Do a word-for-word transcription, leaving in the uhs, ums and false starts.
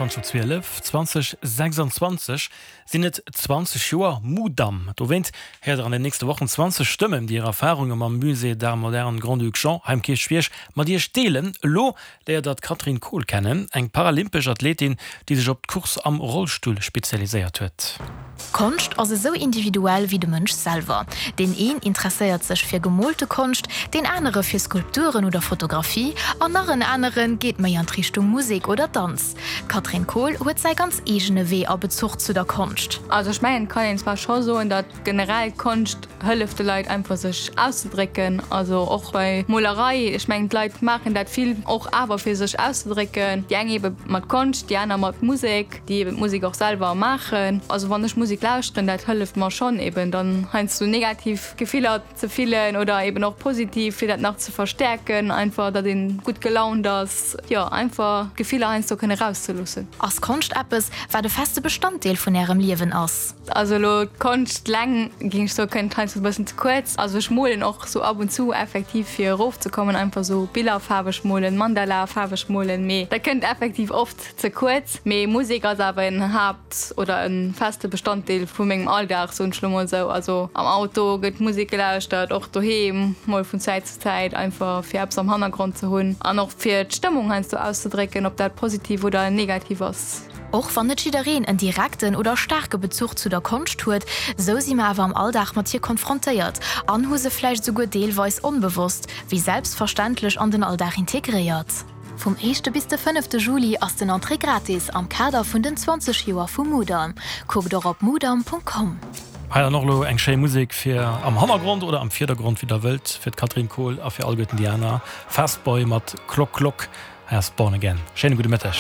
Zwanzeg op zwielef, zwanzeg sechsundzwanzeg sinn et zwanzeg Joer Mudam. Dowéint héiert der an den nächste Wochen zwanzeg Stëmmen, déi hir Erfarunge mam Musée d'Art Moderne Grand-Duc Jean hei um Kierchbierg mat iech deelen. Elo léiert der d'Catherine Kohl kennen, eng paralympesch Athletin, déi sech op d'Course am Rollstull spezialiséiert huet. Konscht ass esou individuell wéi de Mënsch selwer. Deen een interesséiert sech fir gemoolte Konscht, deen anere fir Skulpturen oder Fotografie an nach en anere geet méi an d'Richtung Musek oder Danz. D'Catherine Kohl huet säi ganz eegene Wee a Bezuch zu der Konscht. Also ech mengen et kann een zwar scho soen, datt generell Konscht hëlleft de Leit einfach sech auszedrécken, also och bei Molerei, ech mengen d'Leit maachen dat vill och awer fir sech auszedrécken, déi eng ebe mat Konscht, déi aner mat Musek, déi eben d'Musek och selwer maachen. Also wann ech Musek lauschteren, dat hëlleft mer schonn eben dann heiansdo negativ Gefiller ze fillen oder eben och positiv, fir dat nach ze verstäerken, einfach datt een gutt gelaunt ass, jo einfach d'Gefiller heiansdo kënne erauszeloossen. Ass Konscht eppes, wat e feste Bestanddeel vun Ärem Liewen ass? Also elo d'Konscht leng géing ech soen, kënnt heiansdo e bëssen ze kuerz. Also ech molen och sou ab und zu effektiv fir erofzekommen, einfach sou Biller faarweg molen, Mandala faarweg molen, mee dat kënnt effektiv oft ze kuerz. Mee Musek ass awer en Haapt oder e feste Bestanddeel vu mengem Alldag, soen ech lo mol sou. Also am Auto gëtt Musek gelauschtert, och doheem mol vun Zäit zu Zäit, einfach fir eppes am Hannergrond ze hunn an och fir d'Stëmmung heiansdo auszedrécken, ob dat positiv oder negativ ass. Och wann net jiddereen en direkten oder staarke Bezuch zu der Konscht huet, sou si mer awer am Alldag mat hir konfrontéiert an hu se vläicht souguer deelweis onbewosst wéi selbstverständlech an den Alldag integréiert. Vum éischte bis de fënnefte Juli ass den Entrée gratis am Kader vun den zwanzeg Joer vum Mudam. Kuckt och op mudam Punkt com. Hei dann och elo eng schéi Musek fir am Hannergrond oder am Virdergrond, wéi der wëllt, fir d'Catherine Kohl a fir alleguerten déi aner. Fast Boy mat Klock Klock. Hei ass Born Again. Schéine gudde Mëtteg.